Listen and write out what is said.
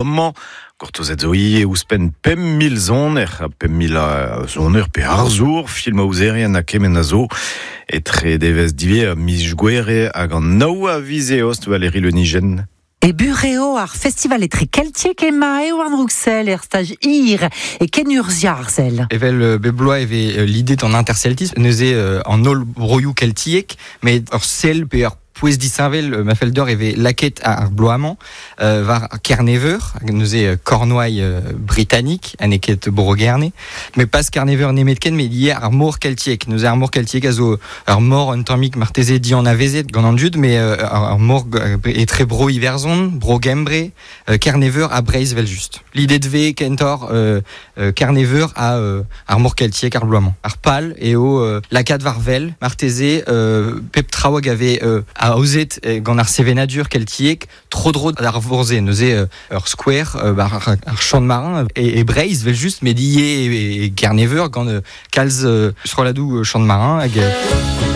Amañ, gortozet zo ivez ouzhpenn 5000 soner, 5000 soner pe arzour, filmaozerien ha kement a zo. Etre devezh diwezhañ miz Gouere hag an nav a viz Eost, Valérie Le Nigen. E bureo ar festival etre keltiek ema Ewan Rouxel er staj hir e kenurzhiañ ar sell. Evel bep bloaz e vez lidet an interceltisme, neuze an holl broioù keltiek, met ur sell pe ur pouez disheñvel ma fell deoc'h e vez lakaet ar bloaz-mañ war Kerneveur, neuze Cornouailles britannique, ha n'eo ket Bro-Gerne. Met pas Kerneveur nemetken, met ivez ar mor keltiek. Neuze ar mor keltiek a zo ur mor un tammig marteze dianavezet gant an dud, met ur mor etre Bro-Iwerzhon, Bro-Gembre, Kerneveur ha Breizh evel-just. Lidet vez kentoc'h Kerneveur ha ar mor keltiek ar bloaz-mañ. Ar pal eo lakaat war wel marteze pep traoù hag a vez aozet gant ar sevenadur keltiek tro-dro d'ar vor-se. Neuze ur skouer ar chant marin e Breizh evel-just, met ivez e Kerneveur gant kalz strolladoù chant marin hag.